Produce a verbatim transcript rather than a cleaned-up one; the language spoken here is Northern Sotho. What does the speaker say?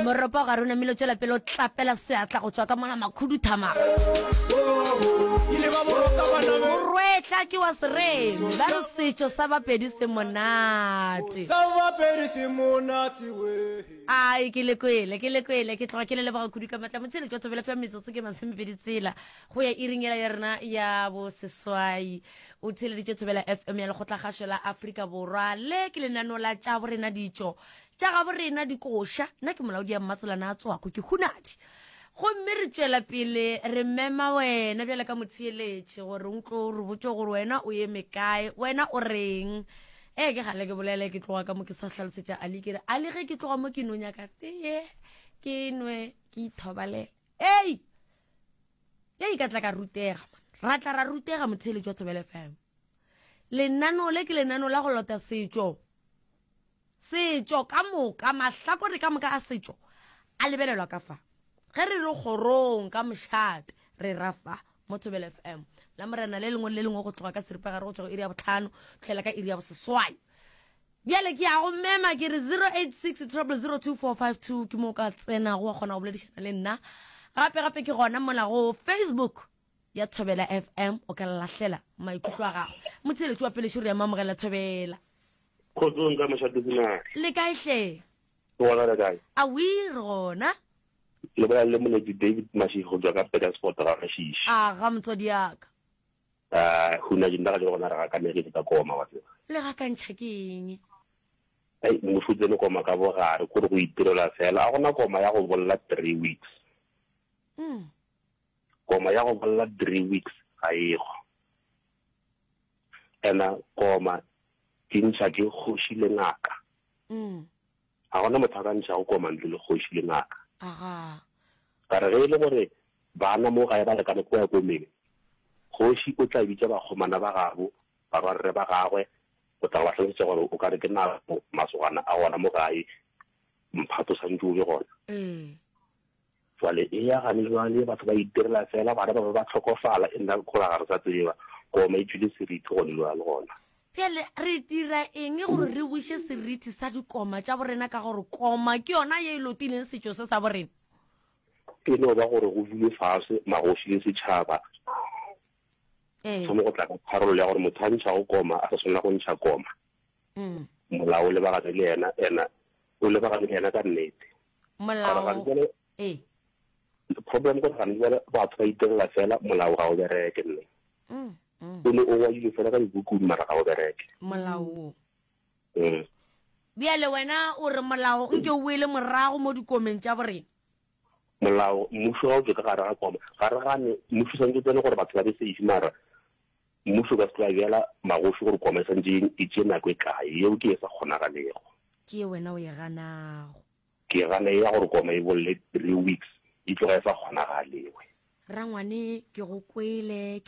Moropa o gare o namile o tšwela pele o tlapela seatla go tšwa ka mola makhuduthamaga. Morwetla ke wa seremi, ba re setšo sa Bapedi se monate. Ai, ke le kwele, ke le kwele, ke tloga ke le leboga kudu ka matla. Motsheletši wa Thobela F M, metsotso ke masomepedi tsela go ya iring yela ya rena ya boseswai. O theeleditše Thobela F M ya Lekgotlakgašo la Afrika Borwa. Le ke lenaneo la tša borena ditšo tša gabo rena dikoša. Nna ke molaodi ya Mmatselana a Tswako, ke Hunadi. Gomme re tšwela pele re mema wena bjale ka motheeletši gore o tlo re botše gore wena o eme kae, wena o reng. Ee, ke gale ke bolele ke tloga ka mo ke sa hlalosetša Ali, ke re Ali ge ke tloga mo ke no nyaka teye ke nwe ke ithobalele. Ei, ei ka tla ka rutega man, ra tla ra rutega motheeletši wa Thobela F M. Lenaneo le ke lenaneo la go lota setšo, setšo ka moka, mahlakore ka moka a setšo a lebelelwa ka fa. Ge re re kgorong ka mošate re ra fa mo Thobela F M la morena le lengwe le lengwe go tloga ka seripagare go tšwa go iri ya botlhano tlhela ka iri ya boseswai. Bjale ke ya go mema ke re zero eight six triple zero two four five two ke mo ka tsenago wa kgona go boledišana le nna. Gape gape ke gona mola go Facebook ya Thobela F M o ka lahlela maikutlo a gago. Motheeletši wa pele šoro ya mamogela Thobela. Kgotsong ka mošate Hunadi. Le kae hle? Ke gona, le kae? Awi, re gona. Le bolela le moletši David Mashishi go tšwa ka Petersfort ga Mashishi. A ga motswadi yaka. Ah, Hunadi nna ga jalo gona re gakanegile ka koma wa tseba. Le gakantšha ke eng? Ai, mmušo o tsene koma ka bogare kore go itirela fela. A gona koma ya go bolla three weeks. Mm. Koma ya go bolla three weeks ga ego. Ena koma di ntšha ke kgoši le ngaka. Mm. Ga gona motho a ka ntšhago koma ntle le kgoši le ngaka. Aga. Ka re ge e le gore bana mo gae ba lekane ko ya komeng, kgoši o tla bitša bakgomana ba gabo, barwarre ba gagwe, o tla ba hlalosetša gore o ka re ke nako masogana a gona mo gae, mphato santše o be gona. Mm. Jwale e ya gane jwale batho ba itirela fela, bana ba ba ba tlhokofala, e nna gore ga re sa tseba koma e tšwile seriti gone jwale gona. Bjale re dira eng gore re buše seriti sa dikoma tša borena, ka gore koma ke yona ye e lotileng setšo se sa borena? E no ba gore go dule fase magoši le setšhaba, Ee. thome go tla ka tharollo ya gore motho a ntšhago koma a sa swanela go ntšha koma. Mm. Molao o lebagane le yena, ena o lebagane le yena ka nnete. Molao. Gore gane jwale Ee. problem gore gane jwale batho ba itirela fela, molao ga o bereke nne. Mm. Mm. O ne o ngwadilwe fela ka dibukung mara ga o bereke. Molao wo. Mm. Bjale wena o re molao nke o boele morago mo dikomeng tša borena. Molao, mmušo ga o tšwe ka gare ga koma. Ga re gane mmušo santse o tsene gore batho ba be safe, mara mmušo ka se tlo bjala magoši gore koma e santse e tšee nako e kae, yeo ke e sa kgonagalego. Ke ye wena o e ganago. Ke gana e ya gore koma e bolle three weeks, e tloga e sa kgonagalewe. Rangwane, ke go kwele, ke